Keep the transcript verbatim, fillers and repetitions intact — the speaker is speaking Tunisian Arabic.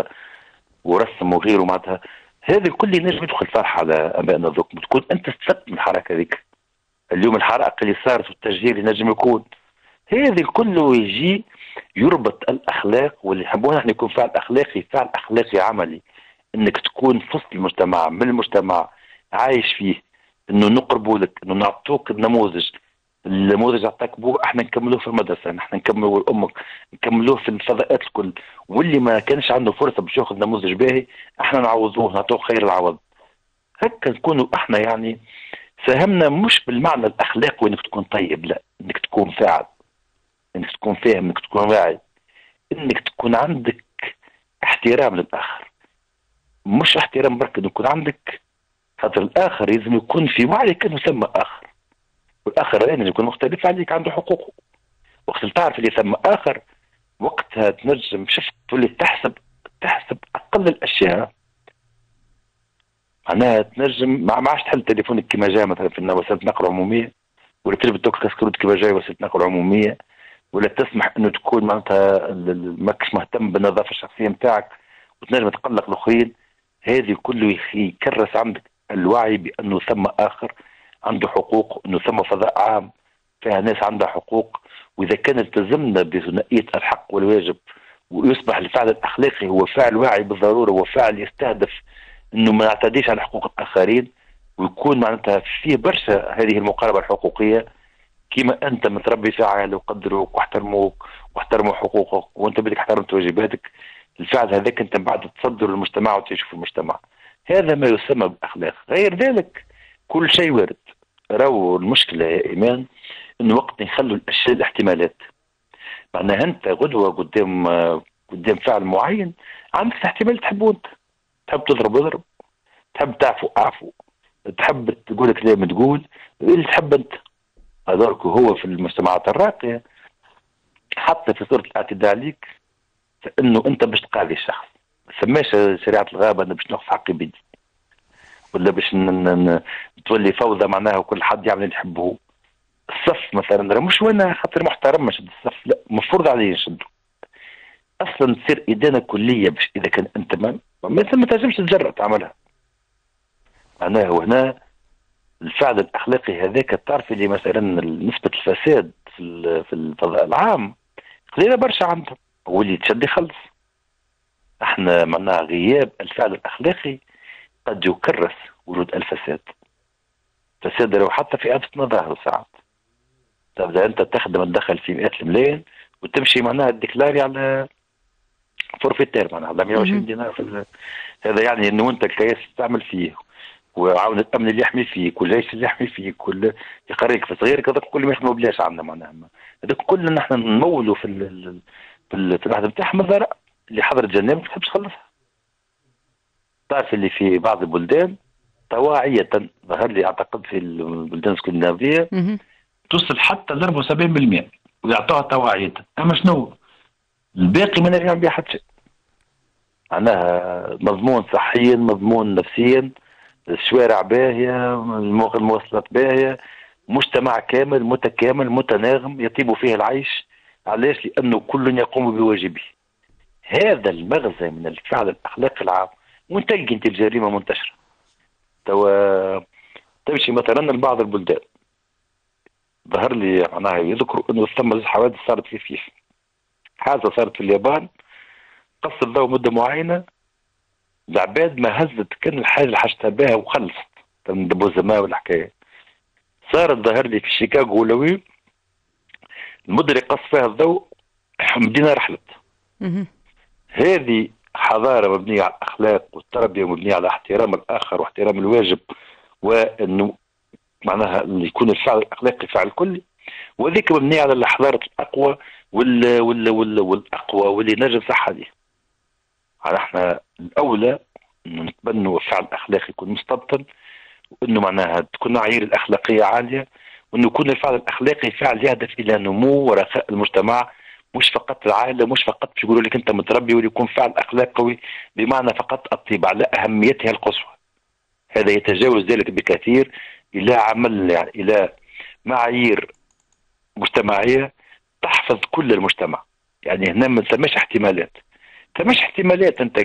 النهضة ورسم وغيره، معناتها هذا الكل ينجم يدخل فرحه على ابائنا ذوك، تكون انت استفدت من الحركة هذيك. اليوم الحرائق اللي صارت والتشجير اللي نجم يكون، هذا الكل يجي يربط الاخلاق، واللي يحبونا احنا يكون فعل اخلاقي، فعل اخلاقي عملي، انك تكون في وسط المجتمع، من المجتمع عايش فيه، انه نقربوا لك، انه نعطوك النموذج، النموذج عطاك بوه احنا نكملوه في المدرسه، نحن نكملوه لامك، نكملوه في الفضاءات الكل، واللي ما كانش عنده فرصة باش ياخذ نموذج باهي احنا نعوضوه، نعطوه خير العوض. هكا نكونوا احنا يعني ساهمنا، مش بالمعنى الاخلاقي وانك تكون طيب، لا، انك تكون فاعل، انك تكون فاهم، انك تكون واعي، انك تكون عندك احترام للاخر، مش احترام برك، يكون عندك خاطر الاخر لازم يكون في وعيك انه ثم اخر، والاخر لازم يكون مختلف عليك، عنده حقوقه. وقت تعرف اللي ثم اخر وقتها تنجم شفت تولي تحسب تحسب اقل الاشياء، معناها تنجم ما عادش تحل تليفونك كما جاء مثلا في وسيلة نقل عموميه، ولا تلبس كاسكروت كما جاي وسيلة نقل عموميه، ولا تسمح انه تكون معناتها ماكش مهتم بالنظافة الشخصية نتاعك وتنجم تقلق الاخرين. هذه كله يكرس عندك الوعي بانه ثم اخر عنده حقوق، انه ثم فضاء عام فيها ناس عندها حقوق، واذا كان التزمنا بثنائيه الحق والواجب ويصبح الفعل الاخلاقي هو فعل واعي بالضرورة، هو فعل يستهدف انه ما نعتديش على حقوق الاخرين، ويكون معناتها فيه برشا هذه المقاربة الحقوقية. كما انت متربي في عائلة وقدروك واحترموك واحترموا حقوقك وانت بدك احترمت واجباتك، الفعل هذاك انت من بعد تصدر للمجتمع وتعيش في المجتمع. هذا ما يسمى بالاخلاق. غير ذلك كل شيء وارد. راهو المشكلة يا ايمان انه وقت نخلوا الاشياء الاحتمالات، معناها انت غدوه قدام قدام فعل معين عندك احتمال تحبه انت، تحب تضرب اضرب، تحب تعفو اعفو، تحب تقول كلام تقول اللي تحب انت. هذاك هو في المجتمعات الراقية حتى في صوره الاعتداء عليك فانه انت باش تقاضي الشخص، ما سماش شريعة الغابة انا باش ناخذ حقي بيدي ولا باش تولي فوضى معناها وكل حد يعمل اللي يحبه. الصف مثلا مش وانا خاطر محترم نشد الصف، لا، مفروض علي نشده. اصلا تصير ادانة كليه باش اذا كان انت ما ما تنجمش تجرأ تعملها. معناها وهنا الفعل الاخلاقي هذاك تعرف اللي مثلا نسبه الفساد في في الفضاء العام قليله برشا عندهم، واللي تشد يخلص. احنا معناها غياب الفعل الاخلاقي قد يكرس وجود الفساد. الفساد لو حتى في أبسط مظاهره ساعات تبدا انت تخدم تدخل في مئات الملايين وتمشي معناها déclarer على forfaitaire معناها على مية وعشرين دينار في هذا، يعني انه انت الكياس تعمل فيه وعاون الامن اللي يحمي فيك والجيش اللي يحمي فيك واللي يقريك في صغيرك، هذاك كل ما يخدموا بلاش عندنا معناها هذاك كل نحن نمولوا في ال في, ال في الوحدة نتاعهم. الضرائب اللي حضرت جناب ما تحبش تخلصها. تعرف اللي في بعض البلدان طواعية ظهر لي اعتقد في البلدان الاسكندنافية توصل حتى ل أربعة وسبعين بالمئة ويعطوها طواعية، اما شنو الباقي ما نجم بها حتى شيء. معناها مضمون صحيا، مضمون نفسيا، الشوارع باهية، المواصلات باهية، مجتمع كامل متكامل متناغم يطيب فيه العيش. علاش؟ لأنه كل يقوم بواجبه. هذا المغزى من الفعل الأخلاقي العام. وين تلقي أنت الجريمة منتشرة؟ توا تمشي مثلا لبعض البلدان ظهر لي معناها يذكروا انه ثم حوادث صارت في فيف، حادثه صارت في اليابان قص الضوء مده معينة، العباد ما هزت كان الحاجة اللي حاجتها بها وخلصت دبوزه ماء والحكاية. صارت ظهر لي في شيكاغو ولا وين المدة اللي قص فيها الضوء مدينة رحلت. هذه حضارة مبنية على الاخلاق والتربية، مبنية على احترام الاخر واحترام الواجب، وانه معناها يكون الفعل الاخلاقي فعل كلي، وذيك مبنية على الحضارة الاقوى وال وال وال والاقوى واللي نجم صح عليه. على احنا الاولى نتبنوا الفعل الاخلاقي يكون مستبطن، وانه معناها تكون معايير الاخلاقية عالية، وانه يكون الفعل الاخلاقي فعل يهدف الى نمو ورخاء المجتمع، مش فقط العائلة، مش فقط باش يقولوا لك انت متربي، واللي يكون فعل اخلاقي بمعنى فقط الطيبة على اهميتها القصوى. هذا يتجاوز ذلك بكثير الى عمل يعني الى معايير مجتمعية تحفظ كل المجتمع. يعني هنا ما ثماش احتمالات، ثماش احتمالات انت